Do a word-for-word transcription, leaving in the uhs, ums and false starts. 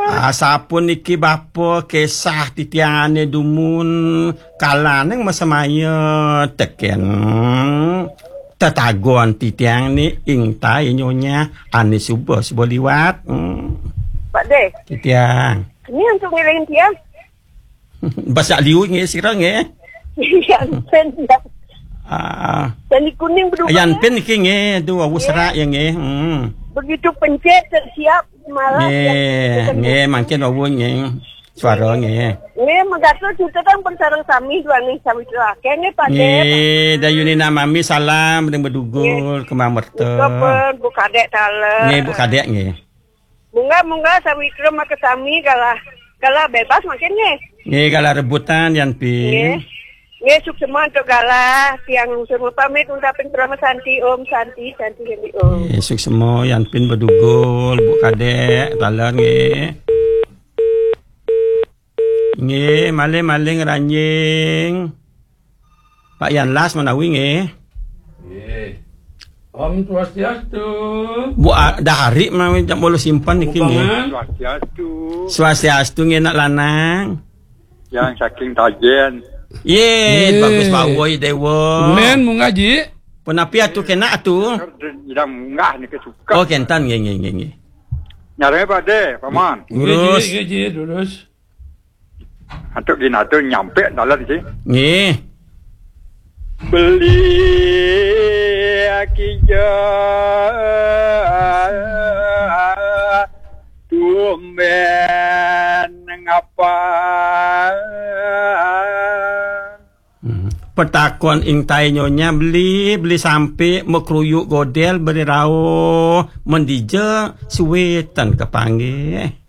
Ah, sampun niki bapa kesah titiangane dumun kalaning masemaya teken tetagon titiang ni ingtai nyonya ane suba-suba liwat. Hmm. Pak De. Titiang. Ini untuk ngiling tiang. Basa liu nge sira nge. Yang pen ya. Ah. Dan di kuning berdua. Yang pen niki nge, tu awu serak ya nge. Hmm. Begitu pencet tersiap malah. Nge, ya, nge mangkin awu nge. Suara nge. Nge, menggatul kita kan persarang sami dua ni sami tu lah. Kene Pak De. Nge, dayuni namami salam ring bedugul kemang merta. Buka pen, Bu Kadek taler. Nge, Bu Kadek nge. Munggah, munggah, sawitra maka sami galah, galah bebas makin nggih. Nggih, galah rebutan yan pin. Nggih, suksema untuk galah, tiang lungsur mapamit untapin Parama Santi, Om Santi, Santi Santi Om. Nggih, suksema yan pin bedugul, Bu Kadek, taler nggih. Nggih, malih-malih ngranjing. Pak Yan Las menawi nggih. Nggih. Om Swastiastu. Bu, ah, dah hari menawi jam bolu simpan niki nggih. Paman. Swastiastu. Swastiastu nggih nak lanang. Yang saking Tajen. Ye, Ye. Bagus bawoi dewa. Men munggah ji. Punapi atu kena atu. Yang munggah niki suka. Oh, kentan nggih nggih nggih nggih. Nyarane Pak De, Paman. Nggih, Lurus. Ji, nggih, ji, lurus. Antuk ginato nyampe dalan sih. Nggih. Beli kija tumben ngapa. Hmm. Petakon ingtai nyonya beli, beli sampe makruyuk godel beri rauh mendija suwe tan kepanggih.